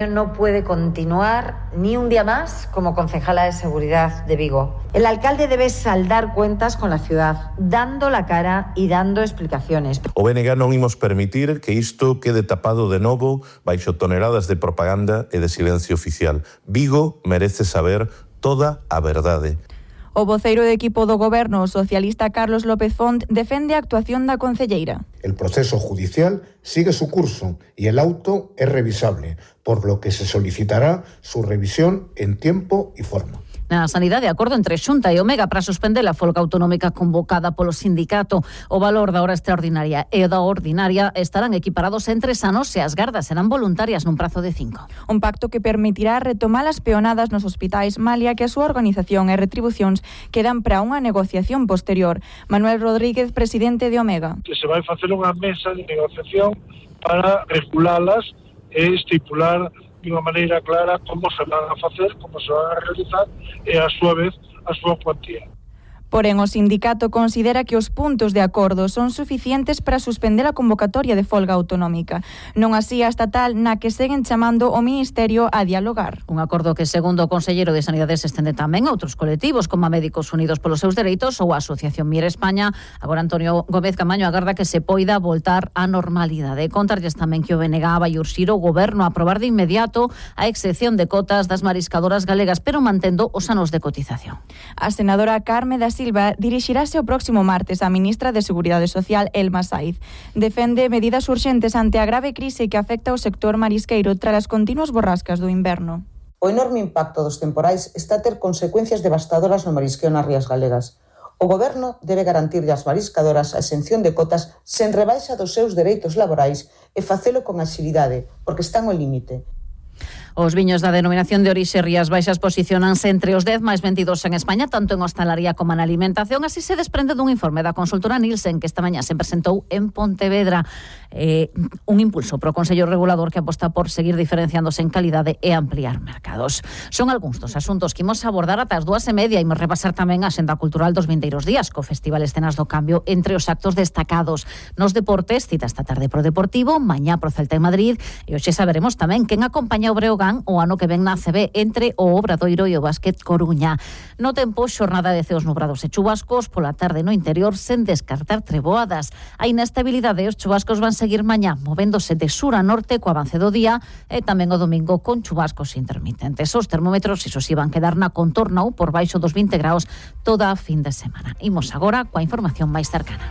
No puede continuar ni un día más como concejala de Seguridad de Vigo. El alcalde debe saldar cuentas con la ciudad, dando la cara y dando explicaciones. O BNG non imos permitir que isto quede tapado de novo baixo toneladas de propaganda e de silencio oficial. Vigo merece saber toda a verdade. O voceiro de equipo do Goberno, o socialista Carlos López Font, defende a actuación da concelleira. El proceso judicial sigue su curso y el auto es revisable, por lo que se solicitará su revisión en tiempo y forma. Na sanidade, acordo entre Xunta e Omega para suspender a folga autonómica convocada polo sindicato. O valor da hora extraordinaria e da ordinaria estarán equiparados en 3 anos e as gardas serán voluntarias nun prazo de 5. Un pacto que permitirá retomar as peonadas nos hospitais, malia que a súa organización e retribucións quedan para unha negociación posterior. Manuel Rodríguez, presidente de Omega. Que se vai facer unha mesa de negociación para regulalas e estipular de unha maneira clara como se van a facer, como se van a realizar e, a súa vez, a súa cuantía. Porén, o sindicato considera que os puntos de acordo son suficientes para suspender a convocatoria de folga autonómica. Non así a estatal, na que seguen chamando o Ministerio a dialogar. Un acordo que, segundo o conselleiro de Sanidade, se estende tamén a outros colectivos, como a Médicos Unidos polos seus dereitos ou a Asociación Mire España. Agora Antonio Gómez Camaño agarda que se poida voltar á normalidade. Contarlles tamén que o BNG vai urxir o Goberno a aprobar de inmediato a excepción de cotas das mariscadoras galegas, pero mantendo os anos de cotización. A senadora Carme da Silva dirixirase o próximo martes á ministra de Seguridade Social, Elma Saiz. Defende medidas urxentes ante a grave crise que afecta ao sector marisqueiro tras as continuas borrascas do inverno. O enorme impacto dos temporais está a ter consecuencias devastadoras no marisqueo nas rías galegas. O Goberno debe garantirlle ás mariscadoras a exención de cotas sen rebaixa dos seus dereitos laborais e facelo con axilidade, porque están ao límite. Os viños da denominación de orixe Rías Baixas posicionanse entre os 10 máis vendidos en España, tanto en hostalaría como en alimentación. Así se desprende dun informe da consultora Nielsen que esta mañá se presentou en Pontevedra. Un impulso pro Consello Regulador que aposta por seguir diferenciándose en calidade e ampliar mercados. Son algúns dos asuntos que imos abordar ata as 2:30. Imos repasar tamén a Xenda Cultural dos vindeiros días, co Festival Escenas do Cambio entre os actos destacados. Nos deportes, cita esta tarde pro Deportivo, mañá pro Celta en Madrid, e hoxe saberemos tamén quen acompaña o Breogán o ano que ven na ACB entre o Obradoiro e o Básquet Coruña. No tempo, xornada de ceos nubrados e chubascos, pola tarde no interior sen descartar treboadas. A inestabilidade e os chubascos van seguir mañá, movéndose de sur a norte co avance do día e tamén o domingo con chubascos intermitentes. Os termómetros, iso si, van quedar na contorna ou por baixo dos 20 graus toda a fin de semana. Imos agora coa información máis cercana.